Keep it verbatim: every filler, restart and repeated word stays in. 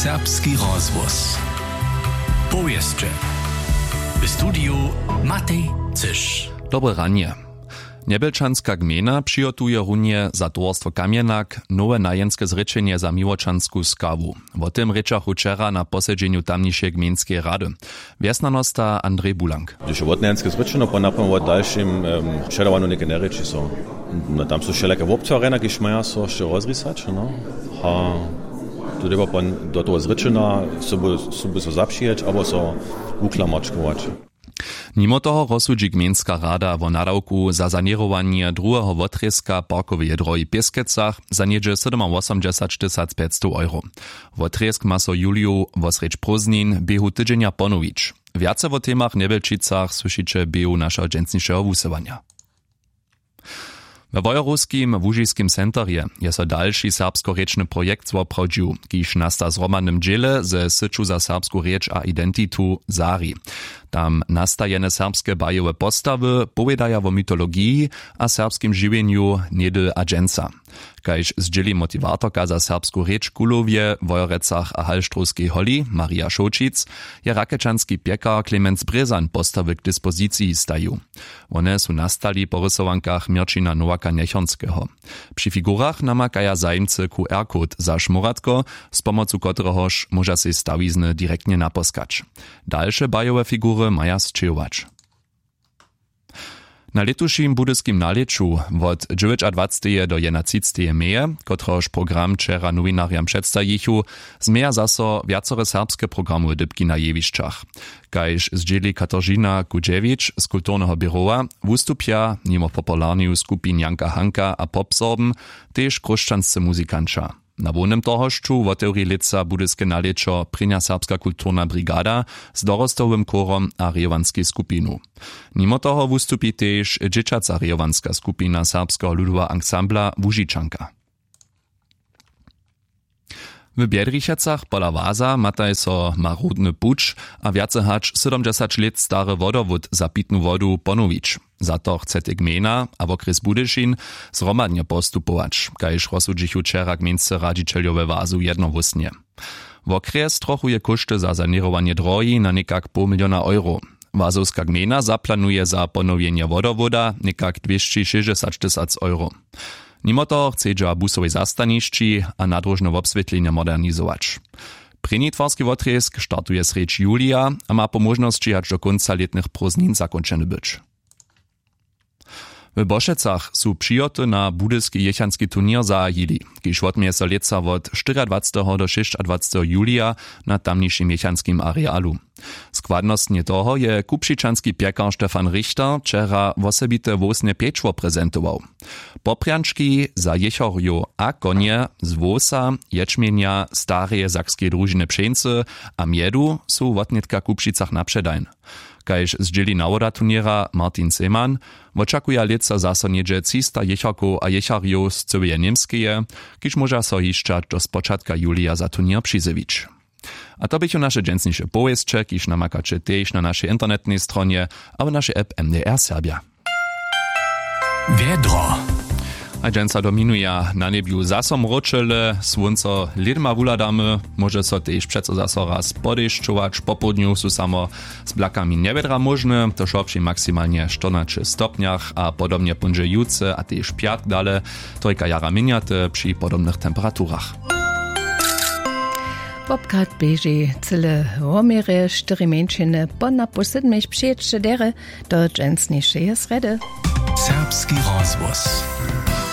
Serbski rozhłos. Powěsće. W studiju Matej Cyš. Dobre ranje. Njebjelčanska gmejna přihotuje runje za towarstwo Kamjenak nowe najenske zrěčenje za miłočansku skawu. Wo tym rěčachu wčera na posedźenju tamnišeje gmejnskeje rady. Wjesnjanosta Andrej Bulank. Hdyž je wotnajenske zrěčeno, po napołdnju wo dalšim předawanju něke njerěči so. No, tam su wšelake wobtwarjenja, kiž maja so hišće rozrisać, no. A tu dyrba do toho zrěčena sobu so zapřijeć abo so wuklamačkować. Nimo toho rozsudźi gmejnska rada wo nadawku za saněrowanje druheho wotrězka parkoweje drohi w Pěskecach za něhdźe sydomawosomdźesać tysac pjećstow euro. Wotrězk ma so juliju wosrjedź prózdnin běhu tydźenja ponowić. Wjace wo temach w njebjelčicach słyšiće běhu našeho dźensnišeho wusyłanja. We wojerowskim łužiskim centerje je so dalši serbskorěčny projekt zwoprawdźił, kiž nasta w zhromadnym dźěle ze syću za serbsku rěč a identitu sari. Tam nastajene serbske bajowe postawy powědaja wo mytologiji a serbskim žiwjenju něhdy a dźensa. Kaž zdźěli motiwatorka za serbsku rěč w kuhlowje wojerecach a halštrowskej holi marja šołćic, je rakečanski pjekar klemenc brězan postawy k dispoziciji stajił. Wone su nastali po rysowankach měrćina nowaka njechornskeho. Při figurach namakaja zajimcy qr code za šmóratko, z pomocu kotrehož móža sej stawizny direktnje naposkać. Dalše bajowe figury maja sćěhować. Na lětušim budyskim nalěću wot dźewjećadwaceteje do jedynatřiceteje meje, kotrehož program wčera nowinarjam předstajichu, změja zaso wjacore serbske programowe dypki na jewišćach. Kaž zdźěli kataržina kudźewić z kulturneho běrowa, wustupja nimo popularneju skupin janka hanka a popsorben tež chróšćanscy muzikanća. Na hłownym tohošću wotewri lětsa budyske nalěćo prěnja serbska kulturna brigada z dorostowym chórom a rejowanskej skupinu. Nimo toho wustupi tež dźěćaca rejowanska skupina serbskeho ludoweho ansambla łužičanka. W bjedrichecach pola waza mataj so marodny puć a wjace hač sydomdźesać lět stary wodowód za pitnu wodu ponowić. Za to chcetej gmejna a wokrjes budyšin zhromadnje postupować, kaž rozsudźichu wčera gmejnscy radźićeljo we wazu jednohłósnje. Wokrjes trochuje kóšty za saněrowanje drohi na někak poł miliona euro. Wazowska gmejna zaplanuje za ponowjenje wodowóda někak dwěsći šěsćdźesać tysac euro. Nimo toho chcedźa w busowej zastanišći a nadróžne wobswětlenje modernizować. Prěni twarski wotrězk startuje srjedź julija a ma po móžnosći hač do kónca lětnych prózdnin zakónčeny być. W Bošecach su přihoty na budyski jěchanski turněr zahajili, kiž wotměje so lětsa wot štyriadwaceteho do šěsćadwaceteho julija na tamnišim jěchanskim arealu. Składnostnje toho je kupšičanski pjekar stefan richter wčera wosebite wowsne pječło prezentował. Poprjančki za jěchorjow a konje z wowsa, ječmjenja, stareje sakskeje družiny pšeńcy a mjedu su wotnětka w kupšicach na předajn. Kaž zdźěli nawoda turněra martin seman, wočakuja lětsa zaso něhdźe třista jěcharkow a jěcharjow z cyłeje němskeje, kiž móža so hišćać do spočatka julija za turněr přizjewić. A to běchu naše dźensniše powěsće, kiž namakaće tež na našej internetnej stronje abo našej app mdr serbja. Wjedro. A dźensa dominuja na njebju zaso mróčele, słónco lědma wuhladamy. Móže so tež přeco zaso raz podešćować, popołdnju su samo z blakami njewjedra móžne, to wšo při maksimalnje štyrnaće stopnjach a podobnje póńdźe jutře a tež pjatk dale, trojka jara měnjate při podobnych temperaturach. Popkat běži cyle woměrje štyri mjeńšiny po napoł sydmich přijěće derje do dźensnišeje srjedy. Serbski rozhłos.